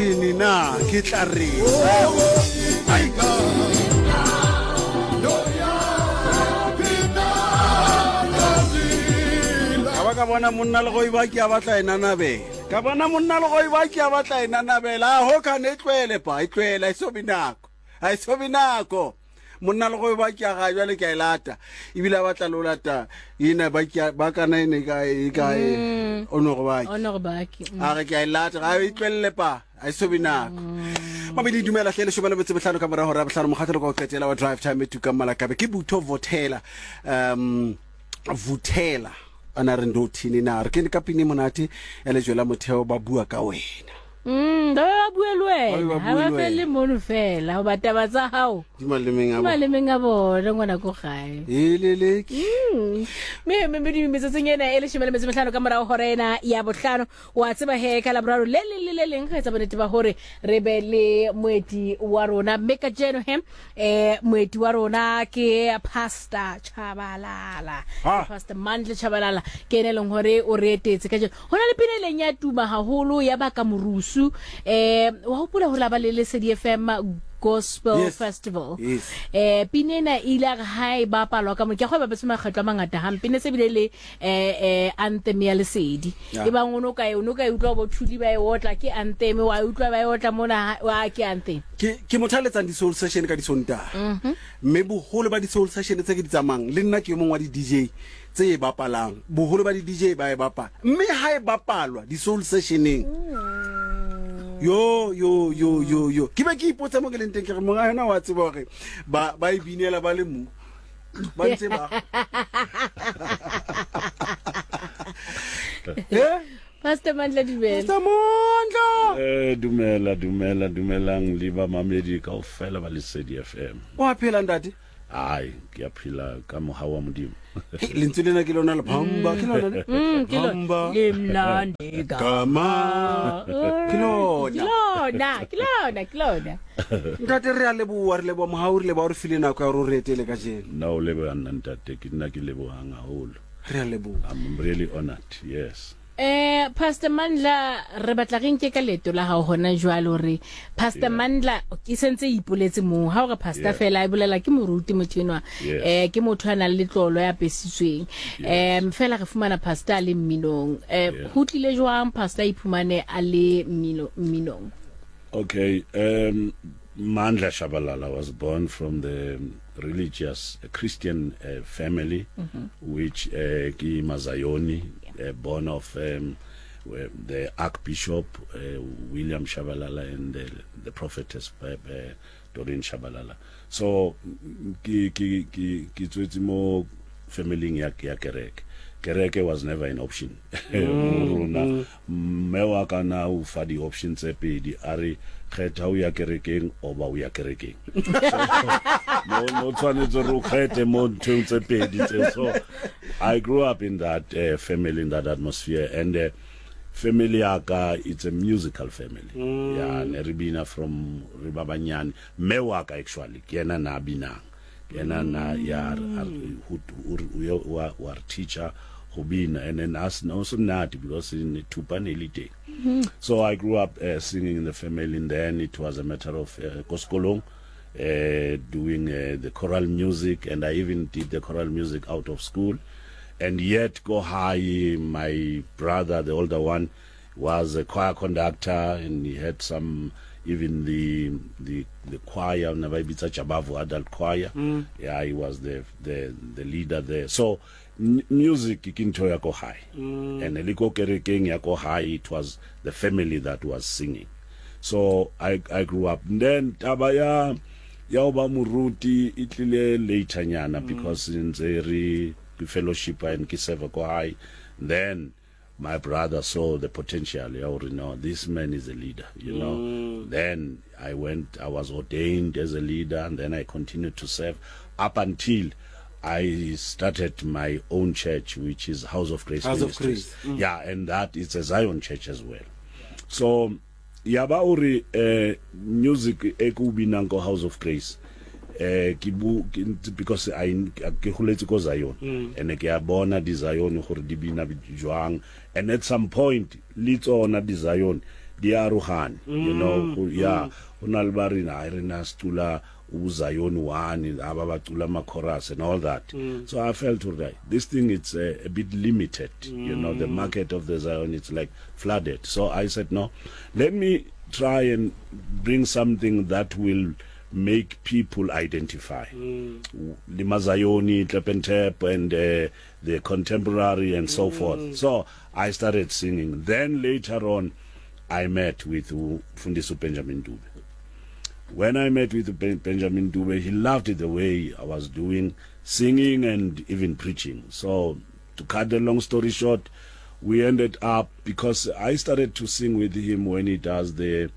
Ini na ke tla reng? Ka ba ka bona monna legoi ba ke a batla e nanabela. Ka bona monna legoi ba ke a batla e nanabela. A ho khane e tlohele pa, e tlohele, a e so be nako. A e so be nako. Monna le go ba ke ga jwale ke a e lata. Ebile a batla le o lata ena ba ke ba kana ene ka e ka e o no go ba. O no go ba ke. A re ke a e lata ga e tlwelle pa. A e so be nako. Mabedi dumela hle leshome le metso mehlano ka morago hora ya bohlano mokgatlo ka go qetela wa drive time e tukang malakabe ke Butho Vothela um Vuthela ana re ndo thini na re kene ka pine monate ya lejwe la motheo ba bua ka wena. Ba be ba bue le Ba be wena ba ga bue ba le wena. fele mono fela goba taba tsa gago Di malemeng a di bona. malemeng a bone ngwana ko gae. Eleleke. Mme mme mme metsotsong ena e leshome le metso e mehlano ka morago hora ena ya bohlano wa tseba he ka laboraro le leng le le leng re etsa bonnete ba hore re be le moeti wa rona mme kajeno he moeti wa rona ke Pastor Chabalala. Ha. Ke Pastor Mandla Chabalala ke ene e leng hore o re etetse kajeno. Ho na le pina e leng ya tuma haholo ya baka morusu. Wa hopola hore la ba le Lesedi FM Gospel Yes. Festival. Yes. Pina ena e ile ya re ha e bapalwa ka mo ke a kgweba bapetse makgetlo a mangata hampe ne se bile le anthem ya Lesedi. Yeah. E bang o no ka e o no ka e utlwa bo Thuli ba e otla ke anthem wa e utlwa ba e otla mona wa ke anthem. Ke motho a letsang di-soul session ka disontaha. Mme boholo ba di-soul session tse ke di tsamayang le nna ke yo mongwe wa di-DJ tse e bapalang boholo ba di-dj ba e bapala mme ha e bapalwa di-soul sessioneng yo yo yo yo yo ke be ke ipotsa mo ke leng teng ke re monga yona wa tseba gore ba ba e binela ba le mo ba ntse ba eh Pastor Mandla dumela. Pastor Mandla. Dumela dumela dumelang le ba mamedi kaofela ba Lesedi FM. Wa phela ntate? Ai, ke a phela ka mohau wa Modimo. Hei, lentswe lena ke lona lephamba, ke lona le? Ke lona. Phamba. Le mnandi Gama. Ke lona. Ke lona, ke lona, ke lona. Ntate re a leboha, re leboha mohau, re leboha o re file nako ya hore o re etele kajeno. Nna o leboha nna ntate, ke nna ke lebohang haholo. Re a leboha. I'm really honored, yes. Eh Pastor Mandla re batla re nke ka leeto la hao hona jwale hore Pastor Yeah. Mandla ke sentse e ipoletse moo ha o re pastor Yeah. fela e bolela ke moruti motho enwa Yes. eh ke motho a nang le tlolo ya pesitsweng Yes. em fela re fumana pastor a le mminong eh Yeah. ho tlile jwang pastor a iphumane a le mmino mminong Okay, Mandla Shabalala was born from the religious Christian family, which ke Mazayoni, born of the Archbishop William Shabalala and the prophetess Doreen Shabalala. So ke ke ke ke tswetse mo family ya ya kereke. Kereke was never an option. Mo rona Mme wa ka na o fa di option tse pedi a re kgetha o ya kerekeng oba o ya kerekeng. So no no tshwanetse re o kgethe mo nthong tse pedi tse. So I grew up in that family, in that atmosphere, and family ya ka it's a musical family. Ya ne re bina from re ba banyane. Mme wa ka actually ke yena na binang. Yena na ya wa re teacher go bina, and then us also not because in thupa ne le teng. So I grew up singing in the family, and then it was a matter of ko sekolong doing the choral music, and I even did the choral music out of school. And yet go high, my brother, the older one, was a choir conductor, and he had some, even the choir, ne ba e bitsa Jabavu Adult Choir. Yeah, he was the leader there. So music ke ntho ya ko hae. And le ko kerekeng ya ko hae, it was the family that was singing. So I grew up. And then taba ya ho ba moruti e tlile later nyana, because ntse re ke fellowship and ke serve ko hae. Then my brother saw the potential ya hore no, this man is a leader, you know. Then I went, I was ordained as a leader, and then I continued to serve up until I started my own church, which is House of Grace House of Ministries. Grace. Yeah, and that is a Zion church as well. So ya ba ore music e ke o binang ko House of Grace, ke bu, ke, because I, ke holetse ko Zion. And ke a bona di Zion gore di bina jwang, and at some point le tsona di Zion Di arohane, you know, go ya go na le ba rena ai rena sicula uZion 1 aba bacula ama chorus and all that. So I felt right, this thing, it's a bit limited, you know, the market of the Zion, it's like flooded. So I said, no, let me try and bring something that will make people identify Limazayoni, Clap and Tap, and the contemporary and so forth. So I started singing. Then later on, I met with Fundisu Benjamin Dube. When I met with Benjamin Dube, he loved the way I was doing singing and even preaching. So to cut the long story short, we ended up, because I started to sing with him when he does the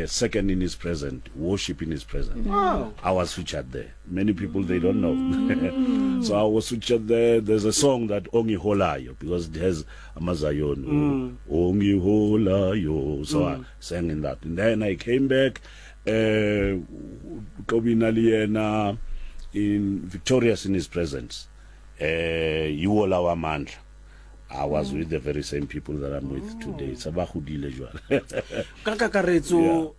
second in his present, worship in his present. Wow. I was featured there. Many people, they don't know. So I was featured there. There's a song that Ongi Holayo, because it has Amazayon. Ongi Holayo. So I sang in that. And then I came back, Kobina Liena, in Victorious in his presence. Yiwo lawa mandla. I was with the very same people that I'm with today. Se ba hodile jwale. Ka kakaretso,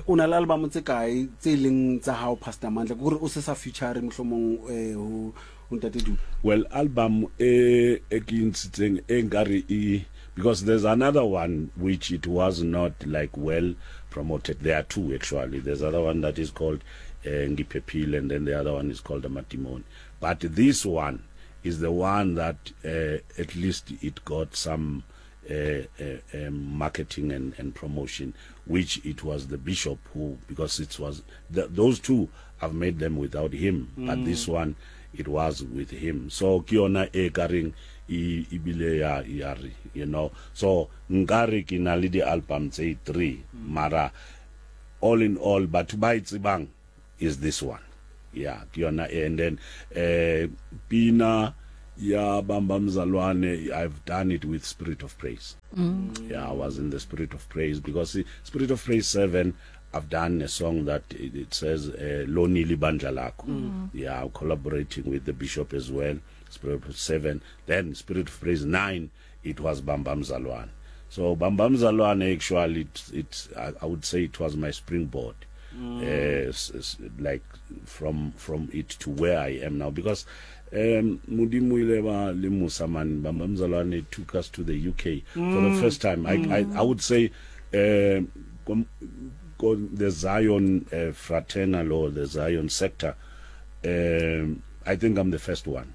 o na le album tse kae tse leng tsa hao, Pastor Mandla, ke gore o se sa feature mohlomong ho Ntate Dube? Well, album e e ke ntshitseng e nkare e, because there's another one which it was not like well promoted. There are two actually. There's other one that is called Ngiphephile, and then the other one is called Amatimoni. But this one is the one that at least it got some marketing and promotion, which it was the bishop who, because it was those two, I've made them without him, but this one, it was with him. So ke yona e kareng e ebile ya ya re, you know, so nkare ke na le di album tse 3, mara all in all batho ba e tsebang is this one. Yeah, ke yona. And then pina ya Bamba Mzalwane, I've done it with Spirit of Praise. Yeah, I was in the Spirit of Praise, because the Spirit of Praise 7, I've done a song that it says Loni Libandla Lakho. Yeah, I'm collaborating with the bishop as well. Spirit of Praise 7. Then Spirit of Praise 9, it was Bamba Mzalwane. So Bamba Mzalwane, actually, I would say it was my springboard. Like from it to where I am now, because Modimo ile ba le mosa man, Bamba Mzalwane took us to the UK for the first time. I would say the Zion fraternal or the Zion sector, I think I'm the first one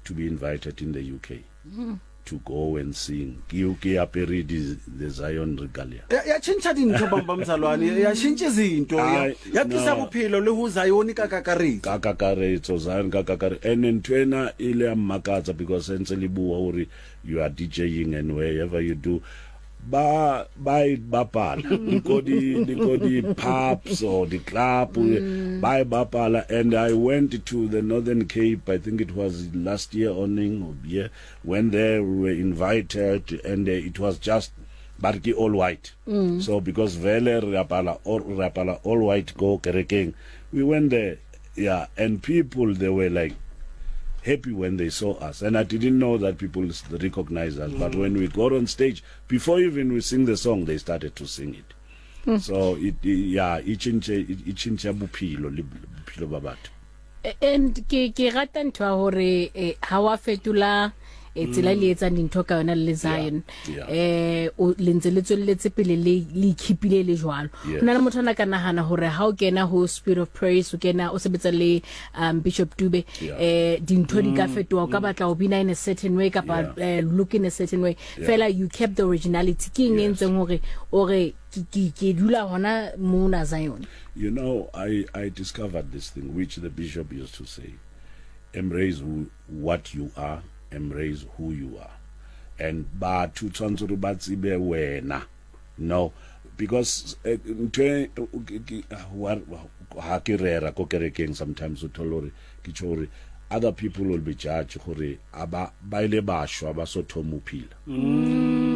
to be invited in the UK to go and sing. Ke apere the Zion regalia. Ya tjhentjha dintho Bamba Mzalwane, ya tjhentjhe izinto, ya tlisa bophelo le ho Zion ka kakaretso. Ka kakaretso, Zion ka kakaretso. And ntho ena e le ya mmakatsa, because ntse le bua hore you are DJing and wherever you do, ba e bapala ko di pubs or the club, ba e bapala. And I went to the Northern Cape, I think it was last year on year, when they were invited, and it was just barki all white. So because vele re apala all white go kerekeng, we went there, yeah, and people, they were like happy when they saw us, and I didn't know that people recognized us. But when we got on stage, before even we sing the song, they started to sing it. So it yeah, e tjhentjha bophelo le bophelo ba batho. And ke rata ntho ya hore ha wa fetola tsela le etsang dintho ka yona le Zion, o le ntse le tswelletse pele le ikhipile le jwalo. Yes. Hona le motho ana ka nahana hore ha o kena ho Spirit of Praise, o kena o sebetsa le Bishop Dube, dintho di ka fetoha, o ka batla ho bina in a certain way kapa look in a certain way. Fela you kept the originality. Ke eng e entseng hore o re ke dula hona mona Zion? You know, I discovered this thing which the bishop used to say, embrace what you are, embrace who you are. And batho tshwanetse hore ba tsebe wena. No, because ntho ha ke rera ko kerekeng, sometimes o thole hore ke tjho hore other people will be judged hore aba ba ile ba shwa ba so thoma ho phela.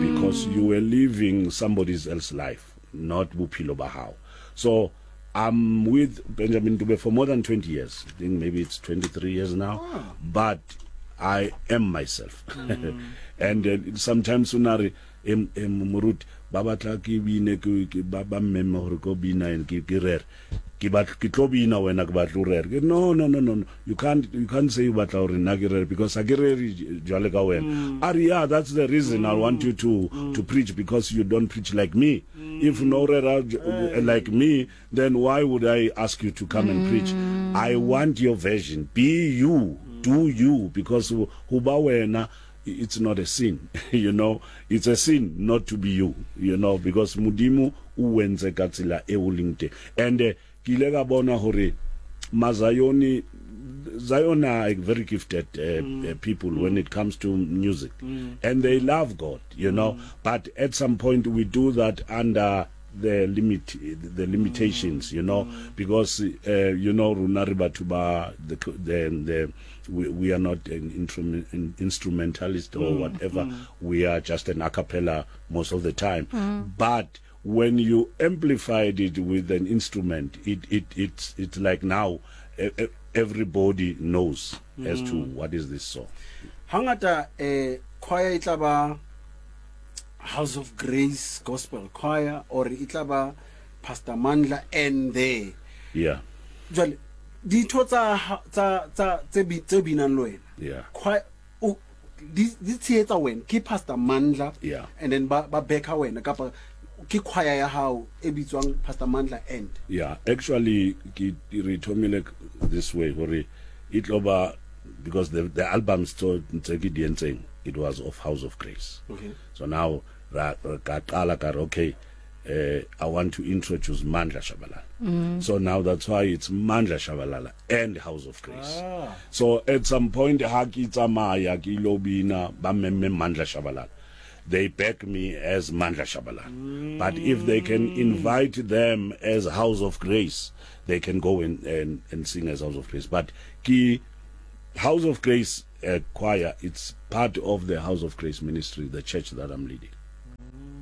Because you were living somebody else's life, not bophelo ba hao. So I'm with Benjamin Dube for more than 20 years. I think maybe it's 23 years now. But I am myself. And sometimes unari Moruti ba batla ke bine ke ba ba mmemme gore ko bina and ke ke rere ke batla ke tlo bina wena ke batla o rere ke no no no no no you can't you can't say you batla gore nna ke rere because a ke rere jwale ka wena mm. a re yeah that's the reason mm. I want you to mm. to preach because you don't preach like me mm. if no rera eh. like me then why would I ask you to come mm. and preach mm. I want your version be you mm. do you because ho ba wena it's not a sin you know it's a sin not to be you you know because modimo o wentse ka tsela e o leng teng and eh, ke ile ka bona hore mazayoni Zion are very gifted uh, mm. people mm. when it comes to music mm. and they love God you know mm. but at some point we do that under the limit the limitations mm. you know mm. because uh, you know rona re batho ba the the, the we, we are not an instrument, instrumentalist or mm. whatever mm. we are just an a cappella most of the time mm. but when you amplified it with an instrument it it it's it's like now everybody knows mm. as to mm. what is this song hangata eh choir e tla ba House of Grace Gospel Choir or e tla ba Pastor Mandla and there. Yeah. Jwale ditho tsa tsa tsa tse tse binang le wena. Yeah. Choir o di di tshehetsa wena ke Pastor Mandla. Yeah. And then ba ba backa wena kapa ke choir ya hao e bitswang Pastor Mandla and. Yeah, actually ke re thomile this way hore e tlo ba because the the albums tso tse ke di entseng it was of House of Grace. Okay. So now ra ka qala ka re okay uh, I want to introduce Mandla Shabalala. Mm. So now that's why it's Mandla Shabalala and House of Grace. Ah. So at some point ha ke tsamaya ke ilo bina ba memme Mandla Shabalala. They back me as Mandla Shabalala. Mm. But if they can invite them as House of Grace, they can go and, and, and sing as House of Grace. But ke House of Grace uh, choir, it's part of the House of Grace ministry, the church that I'm leading.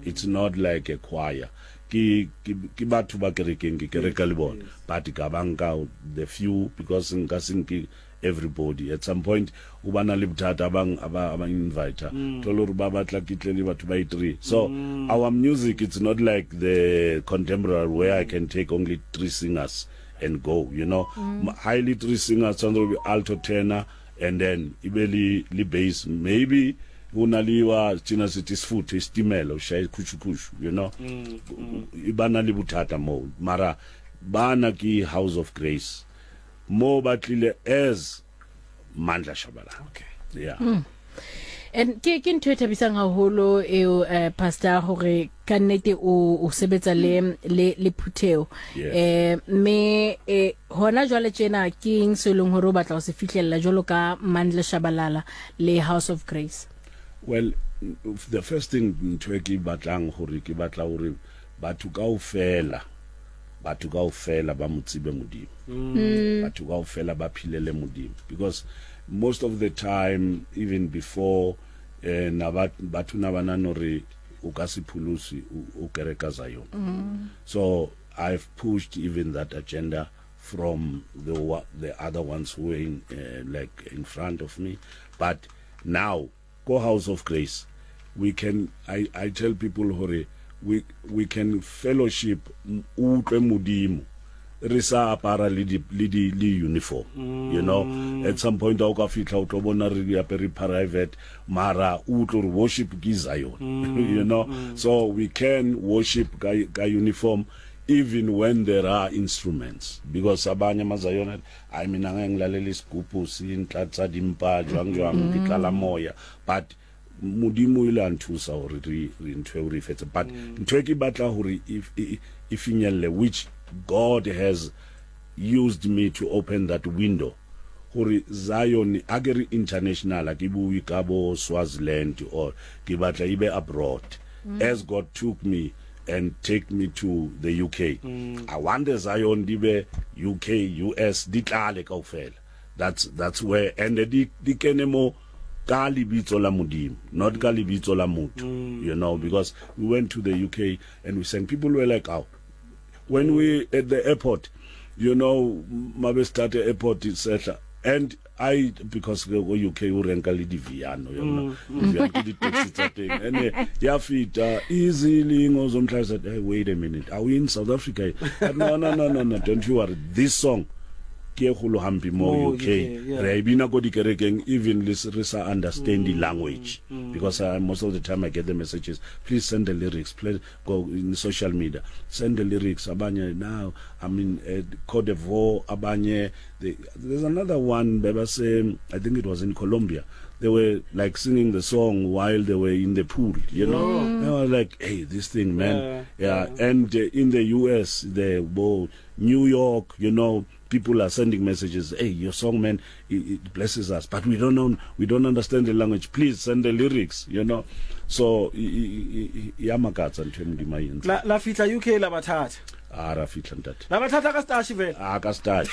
It's not like a choir. Ke ke ke batho ba kerekeng ke kereka le bona but ka ba nka the few because nka se nke everybody at some point o ba na le bothata bang aba aba invite mm. thole gore ba batla ke tle le batho ba three so mm. our music it's not like the contemporary where I can take only three singers and go you know mm. highly three singers tshwanetse be alto tenor and then e be le le bass maybe o na le wa tsena se sefutho isitimela o shaye khushukhushu you know mm. mm. e ba na le bothata mo mara bana ke house of grace mo ba tlile as Mandla Shabalala okay yeah mm. And ke ke ntho e thabisang haholo eo eh, pastor hore ka nnete o o sebetsa le le le phutheo eh mme eh, hona jwale tjena ke eng se leng hore o batla ho se fihlella jwalo ka Mandla Shabalala le House of Grace well the first thing ntho e ke batlang hore ke batla hore batho kaofela batho kaofela ba mo tsebe Modimo mm. batho kaofela ba philele Modimo because most of the time even before eh na batho na bana no re o ka se pholosi o kereka Zion mm. so i've pushed even that agenda from the the other ones who were in, uh, like in front of me but now Ko House of Grace we can I I tell people hore we we can fellowship o utlwe modimo re sa apara le di le di le uniform mm. you know at some point o ka fihla o tlo bona re di apere private mara o utlwe re worship ke Zion mm. you know mm. so we can worship ka ka uniform even when there are instruments because abanye amazayona Ai mina ngeke ngilalela isigubhu sintlatsa dimpa jwang jwang ke tlala moya but modimo ile a nthusa hore re re ntho eo re fetse but ntho e ke batla hore e finyelle which God has used me to open that window hore Zion a ke re international a ke bue ka bo Swaziland or ke batla ibe abroad as God took me and take me to the UK mm. I want the Zion di be UK US di tlale kaofela that's that's where and di di kene mo ka lebitso la modimo not ka lebitso la motho mm. you know because we went to the UK and we sang people were like oh when we at the airport you know mabe start airport sehla And I because ko UK o renka le di-Viano yona di-Viano ke di-taxi tsa teng and ya fita easily ngozomhla said hey wait a minute are we in South Africa but no no no no no don't you worry this song ke e kgolo hampe mo UK re a e bina ko dikerekeng even le re sa understand the language because I, most of the time I get the messages please send the lyrics please go in social media send the lyrics abanye now I mean uh, Cote d'Ivoire abanye They, there's another one bebase I think it was in Colombia they were like singing the song while they were in the pool you know mm. I was like hey this thing man yeah, yeah. yeah. and uh, in the US the bo New York you know people are sending messages hey your song man it, it blesses us but we don't know we don't understand the language please send the lyrics you know so ya makatsa ntho e modimo a entse la, la fihla UK la bathatha a ra fihla ntate la bathatha ka stash vele a ka stash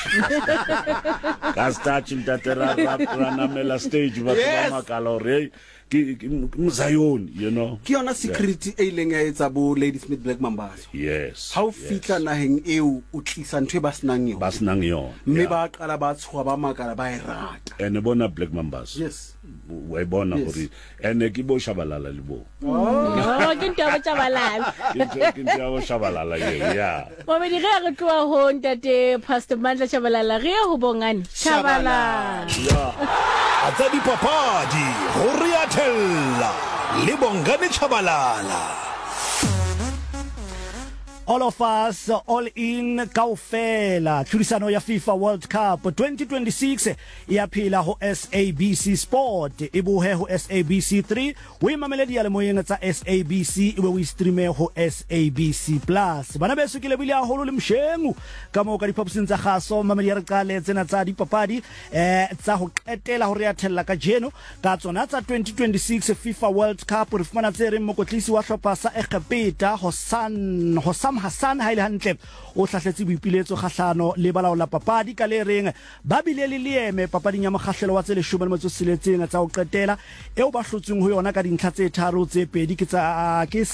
ka stash ntate ra ra ra namela stage batho ba makala hore hey ke mzayoni you know ke yona security e ileng ya etsa bo Lady Smith Black Mambazo yes ha o fihla naheng eo o tlisa ntho e ba senang yona ba senang yona mme ba qala ba tshoha ba makala ba e rata ene bona Black Mambazo yes wa e bona hore ene ke bo shabalala le bo oh ke ntho ya bo shabalala ke ntho ya bo shabalala eo ya momedi ge re tloa ho ntate pastor Mandla Shabalala re ye ho bongane Shabalala ya tsa dipapadi go re a thella le Bongani Tshabalala. All of us, all in, kaofela. Tlhodisano ya FIFA World Cup 2026 e a phela ho SABC Sport. E bohe ho SABC 3, o e mamele diyalemoyeng tsa SABC e be o e streame ho SABC Plus. Bana beso ke lebohile haholo le Mshengu ka moo ka diphaposing tsa kgaso. Mamedi ya re qale tsena tsa dipapadi eh tsa ho qetela ho re athella kajeno Ka tsona tsa 2026 FIFA World Cup re fumana tse reng mokotlisi wa hlopha sa Egepeta Hosan, Hossam Hassan ha e le hantle o hlahletse boipiletso kgahlano le balaola papadi ka le reng ba bile le leeme papading ya mokgahlelo wa tse 16 tsa ho qetela eo ba hlotsweng ho yona ka dintlha tse tharo tse pedi ke tsa ke